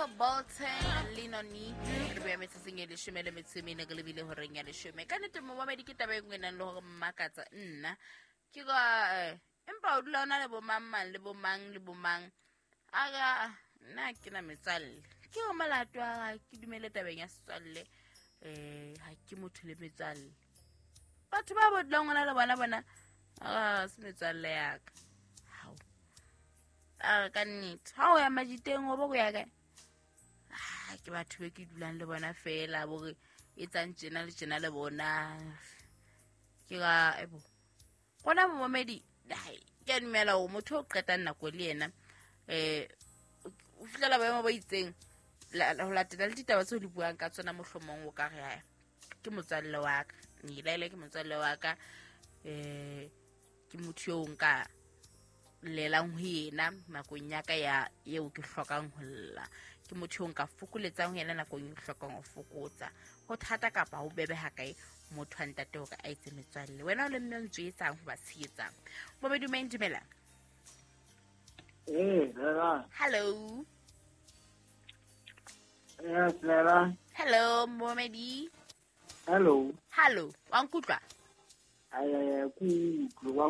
Michael Bolton le Noni re beya metsatsing e leshome le metso e mene re lebile horeng ya leshome. Ka nnete momamedi ke taba e nngwe e nang le hore mmakatsa nna ke ka empa o dula o na le bomang mang le bomang le bomang aka nna ke na metswalle ke go molato wa ke dumele tabeng ya setswalle. Ha ke motho le metswalle, batho ba bo dulang ona le bona bona a se metswalle yaka. Hao a ka nnete ha o ya majiteng o bo go ya kae? Ke batho be ke dulang le bona fela bore e tsang tjena le tjena le bona ke ka ebo gona. Momamedi, ke a dumela gore motho o qetang nako le yena o fihlela boemo bo itseng ho latela le ditaba tseo le buang ka tsona, mohlomong o ka re "Ai, ke motswalle wa ka nelaele, ke motswalle wa ka, ke motho eo nka llelang ho yena nakong ya ka ya eo ke hlokang ho lla, ke motho eo nka fokoletsang ho yena nakong e hlokang ho fokotsa." Ho thata kapa ho bebe ha kae motho wa ntate hore a etse metswalle? Wena o le mme o ntso etsang ho ba tshehetsang? Momedumeng, dumela. Ee, Lela. Hello. Yes, Lela. Hello, momedi. Hello. Hallo, wa nkutlwa? Ay, ay, ay, ku utlwe, wa